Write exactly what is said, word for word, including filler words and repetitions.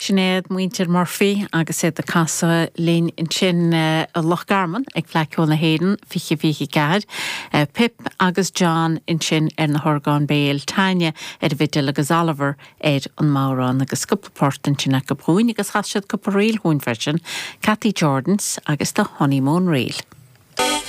Sin iad muintir Murphy agus iad ag casadh linn ansin i Loch Garman ag Fleadh Cheoil na hÉireann fiche fiche ceathair. Pip agus John ansin ar na horgáin béil Tanya ar an bhfidil agus Oliver ar an mbodhrán agus cúpla port ansin acu dúinn agus chas siad cúpla ríl chugainn freisin, Cathy Jordans agus the Honeymoon Reel.